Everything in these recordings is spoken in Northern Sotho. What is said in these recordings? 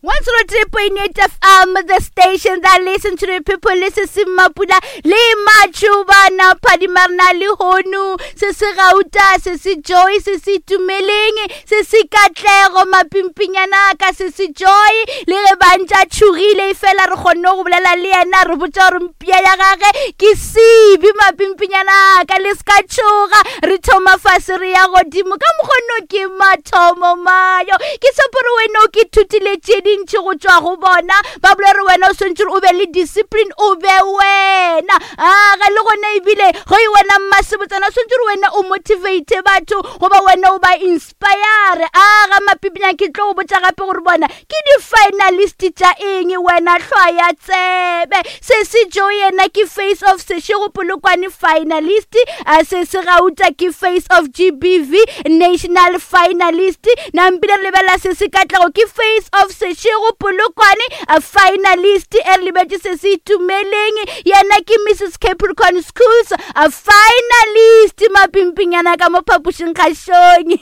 103.8 FM, the station that listen to the people, listen se Mapula le Machubana Phadimarna le Honu, se se Gauta, se se Joy, se se Tumeleng, se se Katlego Mapimpinyana ka se se Joy, le ge ba ntša tšhogile e fela re kgonne go bolela le yena re botša gore mpia ya gage ke sebi mapimpinyana ka le se ka tšhoga re thoma fase re ya godimo ka mokgono ke mathomo mayo ke tshepo re wena o ke thutile tše dintši go tšwa go bona ba bole re wena o swantse o be le discipline o be wena aga le gona ebile go e wena mmasebotsana o swantse re wena o motivate batho goba wena o ba inspire aga mapipinyana ke tlo go botša gape gore bona ke di-finalist tša eng wena hlwaya tsebe se se jo yena ke face of sešego polokwane finalist a se se gauta ke face of gbv national finalist nampile re lebelela se se katlego ke face of sešego polokwane a finalist e re lebetše se se itumeleng yena ke mrs capricorn schools a finalist mapimpinyana ka mo phapošing kgašong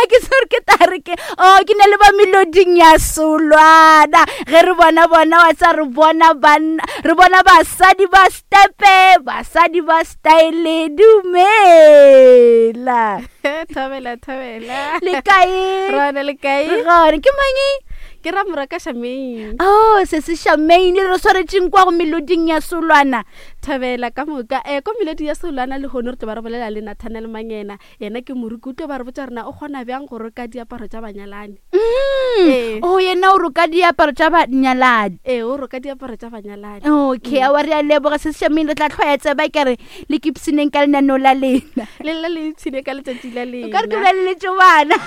a ke se gore ke tare ke o oh, ke ne le ba meloding ya solwana ge re bona bona wa tsa re bona banna re bona basadi ba stepe basadi ba style dumela thabela thabela le kae rona le kae re gone ke mang ke ra moraka shamaine oh se se shamaine re swaretseng kwa go meloding ya solwana thabela ka moka um ko melodi ya solwana le gone re tlo ba re bolela le nathanel mangena yena ke moruki o tlo ba re botsa rena o kgona bjang go roka diaparo tša banyalani mm. ee. o oh, yena o roka diaparo tša banyalani ee o roka diaparo tša banyalani okay mm. awa re a leboga se sešameng re tla tlhoya tseba ke re le kipsineng ka lenaneo la lena le lla le ipshine ka letšatši la lena ka re ke bolaleletše bana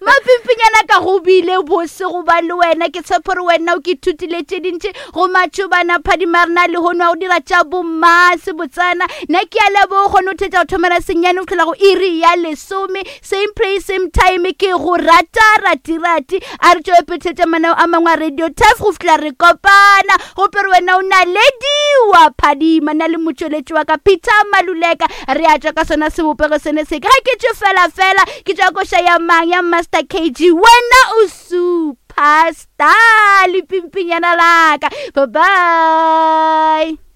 mapimpinyana ka go bile bose go ba le wena ke tshepo re wena o ke thutile tše dintši go matšhobana phadimarena lehono a go dira tša bommase botsana nna ke a lebo kgone go thetša go thomela senyane go tlhola go iri ya lesome same place same time ke go rata ratirati a re tšwele pele thetša manao a mangwe a radio taf go fihla re kopana gope re wena o nalediwa phadima na le motšweletši wa ka peter maluleka re a tšwa ka sona sebopego sene se ke ga ke tšwe fela fela ke tšwa koša ya mang ya master kg wena o superstar lepimpinyana laka bye bye.